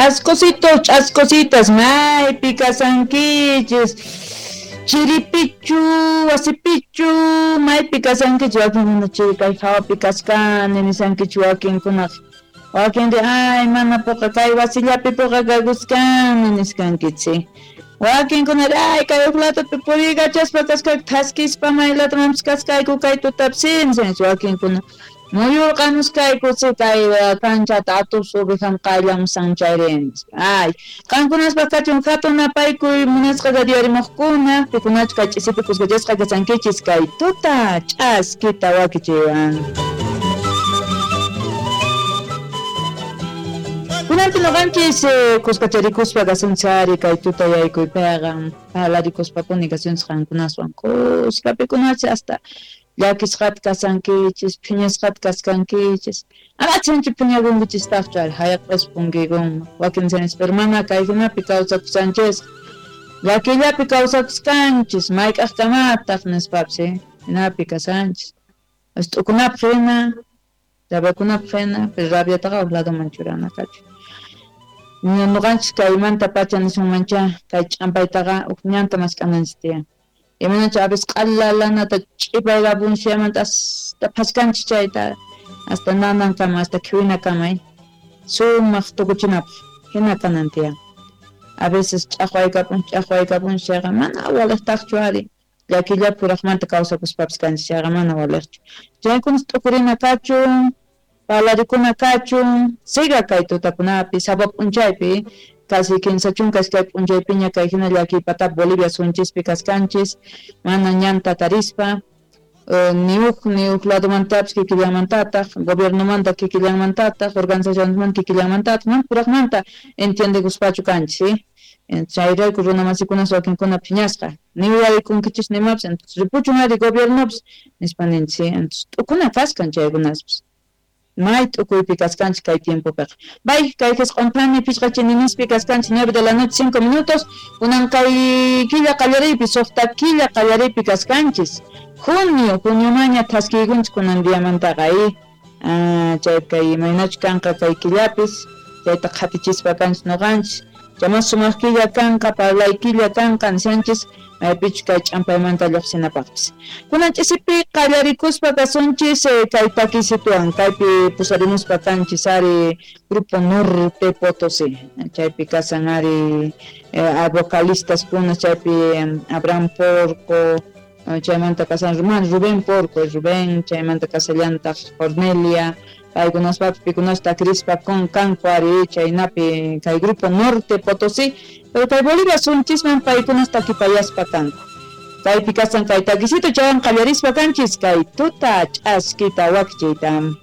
Ch'ascositos, ch'ascositas, maypi kasankichis? Chiripichu, wasipichu, maypi kasankichis? Wakinkuna chiri kay hawapi kaskani nisankichis wakinkunaqa. Wakin ay mana puqa kay wasillapi puqa kakuskani niskankichis. Wakinkuna ay kay huk latupi puriykachaspa kaskayku thaskispa may latumanpis kaskayku kay tutapis nisankichis wakinkuna. Muyurqamuskayku kay kanchata atupis ovejan qayllamusan chayri. Ay, qankunaspaq kachun hatun napaykuy munasqa radiorimuqkuna, pikunachu kay ch'isipi kuskachasqa kasankichis kay tuta ch'askita wakichiywan. Kunanpi noqanchis kuskacharikuspa kasunchis ari kay tuta yaykuypiqa parlarikuspapuni kasunchis qankunaswan kuska pikunachi hasta llakisqata kasankichis, phiñasqata kaskankichis. Ama phiñakunkichistaqchu ari hayaq'ispa punkiykunman. Wakin nishanchis pero mana kay hinapi kawsakusanchis. Llakillapi kawsakuskanchis, mayk'aqkamataq nispapis hinapi kasanchis. T'ukunapaq hina, rabiakunapaq hina, pero rabiataqa huk ladoman churana kachun. Noqanchis kaymanta pacha nisunmancha kay ch'ampaytaqa huk ñanta mask'ananchis tiyan. Imaynachu a veces q'alalanata ch'ipaykapunsiamanta hasta phaskanchis chayta hasta nanankama hasta khiwinakama sumaq tukuchinapaq hina kanan tiyan. A veces ch'aqwaykapun chayqa mana waliqtaqchu ari llakillapi puraqmanta kawsakuspapis kanchis chayqa mana waliqchu. Chaykunas t'ukurina kachun, parlarikuna kachun, siga kay tutakunapi sapa p'unchaypi casi 32 p'unchaypiña kay hina llakiypatapi Bolivia sunchispi kaskanchis, mana ñanta tarispa, ni huk ladomantapis kikillanmantataq, gobiernomanta kikillanmantataq, organizacionesmanta kikillanmantataq, mana puraqmanta entiendekuspachu kanchis, chayrayku runamasikunas wakinkuna phiñasqa, ni uyarikunkichis nimapis, entonces ripuchun ari gobiernopis nispa ninchis, entonces t'ukuna kaskan chaykunaspis. May t'ukuypi kaskanchis kay tiempopiqa. Bay, kay qisq'unphani pichqa chininispi kaskanchis 9 de la noche 5 minutos, kunan kay killa qallariypi, suqta killa qallariypi kaskanchis. Junio maña thaskiykunchis kunan diamantaqa chay kay imaynachu kanqa kay killapis, chayta qhatichispa kanchis noqanchis. Chamas sumaq killa kanqa, parlay killa kanqa nishanchis, maypichu kay ch'ampaymanta lluqsinapaqpis. Kunan ch'isipi qallarikuspa kasunchis kay takisituwan, kaypi pusarimuspa kanchis ari Grupo Norte Potosí, chaypi kasan ari vocalistas kuna, chaypi Abraham Porco, chaymanta kasan Rubén Porco, Rubén, chaymanta kasallantaq Cornelia, paykunaspapis pikunas takrispa con kanku ari chaynapi kay Grupo Norte Potosí, pero kay Bolivia sunchisman paykunas takipayaspa kanku. Kaypi kasan kay takisito chaywan qallarispa kanchis kay tuta ch'askita wakichiyta.